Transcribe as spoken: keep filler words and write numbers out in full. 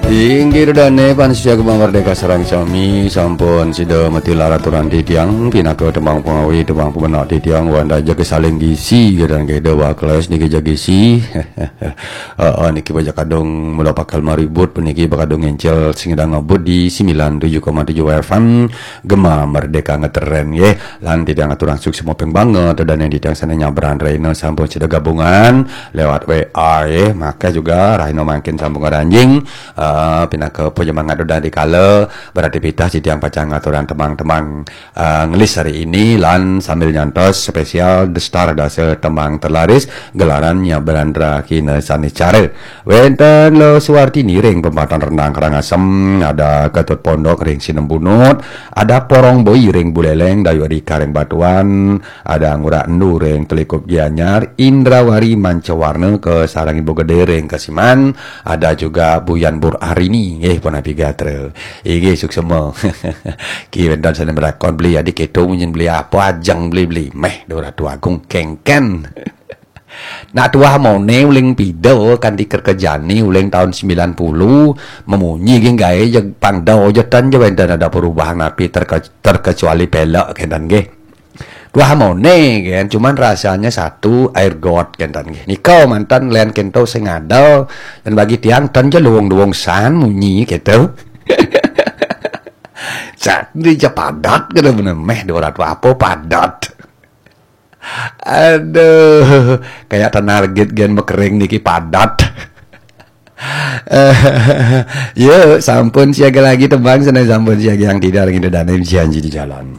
Inggih dane pan sia Gema Merdeka sareng sami sampun sida matilar aturan titiang pinaka tembang pengawi tembang pemenak titiang wanda jaga saling gisi gadan geda wakles niki jagisi. Heeh niki baja kadung mula pakal maribut puniki bakadung encel sing ngabut di sembilan tujuh koma tujuh F M Gema Merdeka ngetren nggih. Lan titiang aturang suksma ping banget dane titiang sane nyabran rena sampun sida gabungan lewat W A nggih. Maka juga rahina mangkin sampun karanjing eh, pinaka penyemangat dodang dikala beraktivitas titiang pacang ngaturan tembang-tembang eh, ngelis hari ini lan sambil nyantos spesial The Star dasa tembang terlaris gelaran nyabran rahina sane cara. Wenten Lo Suwartini ring Pempatan Rendang Karangasem, ada Ketut Pondok ring Sinembunut, ada Porong Boi ring Buleleng, Dayu Adika ring Batuan, ada Ngurah Endu ring Telikup Gianyar, Indrawari Mancawarna ke sareng Ibu Gede ring Kesiman, ada juga Buyan Bur Arini nggih punapi gatra. Inggih suksma. Ki wenten sane melakon beli adi keto munyin beli apa ajeng beli-beli meh Ratu Agung kengken. Nak tuah mone uling pida kanti kerkejani uling tahun sembilan puluh memunyi geng gae jeg pangda aja tan je wenten ada perubahan api terke, terkecuali pelek kenten nggih. Tuah mone kan cuman rasanya satu air got kenten nggih. Nika mantan len kento sing ada dan bagi tiang tan je luwung-luwung san munyi gitu. Sat di je padat kena bener meh dua ratus apa padat. Aduh, kayak tanah legit gen mekering niki padat. Eh, yuk, sampun siaga lagi tebang sana sampun siaga yang tidak lagi dane janji di jalan.